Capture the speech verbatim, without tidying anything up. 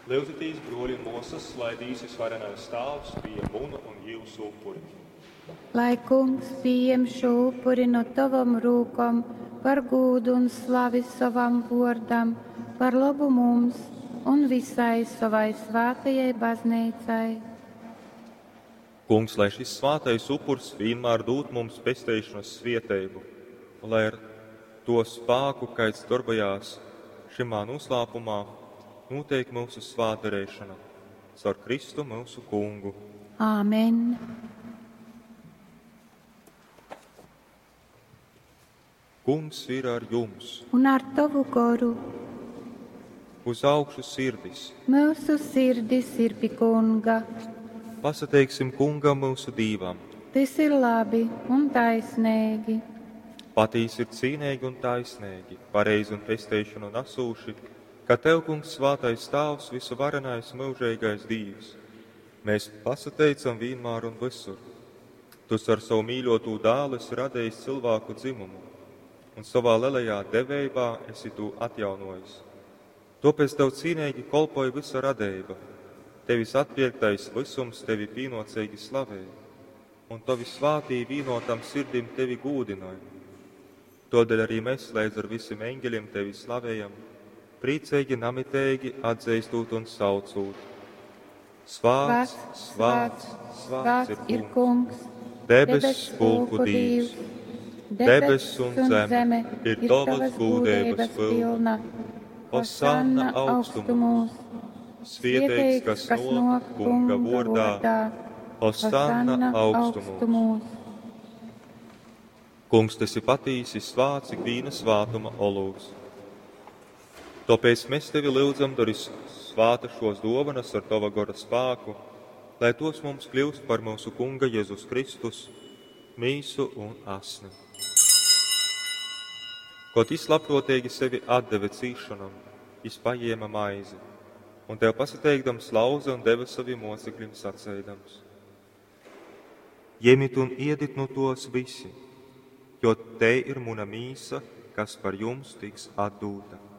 Lyudzitīs, bruoļi un muosys, lai Dīvs Vysvarenais Tāvs pījem munu un jiusu upuri. Lai Kungs pījem šū upuri nu tovom rūkom par gūdu un slavi sovam vuordam, par lobu mums un visai sovai svātajai bazneicai. Kungs, lai šis svātais upurs vienmēr dūd mums pesteišanas svieteibu, un lai ar to spāku, kaids darbojās šymā noslāpumā, notiek mūsu svātdarēšana. Caur Kristu mūsu Kungu. Āmen. Kungs ir ar jums. Un ar tovu goru. Uz augšu sirdis. Mūsu sirdis ir pie Kunga. Pasateiksim Kungam mūsu Dīvam. Tas ir labi un taisnīgi. Patīs ir cīnīgi un taisnīgi, pareizi un pesteišanu nesūši, ka Tev, Kungs, svātais Tāvs, visuvarenais mūžīgais Dīvs, mēs pasateicam vienmēr un visur. Tu ar savu mīļoto dēlu esi radījis cilvēku dzimumu, un savā lielajā devībā esi to atjaunojis. Tāpēc Tev cīnīgi kolpoja visa radība, Tevis atpirktais visums tevi pienocīgi slavē, un Tavi svātī vīnotam sirdim tevi gūdināja. Todēļ arī mēs līdz ar visiem eņģeļiem tevi slavējam, priecīgi, namitīgi atzīstot un saucot. Svāts, svāts, svāts ir kungs, debes pulku Dīvs. Debes un zeme ir tavas gūdības pilna. Hosanna augstumos, svieteigs, kas nāk kunga vordā. Hosanna augstumos. Kungs, tu esi patīsi svāts ikviena svātuma olūts. Tāpēc mēs tevi lūdzam, dari svāta šos dovanas ar tava gora spāku, lai tos mums kļūst par mūsu Kunga Jēzus Kristus, mīsu un asni. Kaut jis labprātīgi sevi atdeva cīšanam, jis paņēma maizi, un tev pasateikdams lauza un deva saviem mocekļiem sacēdams. Ņemiet un iedit no tos visi, jo te ir muna mīsa, kas par jums tiks atdūta.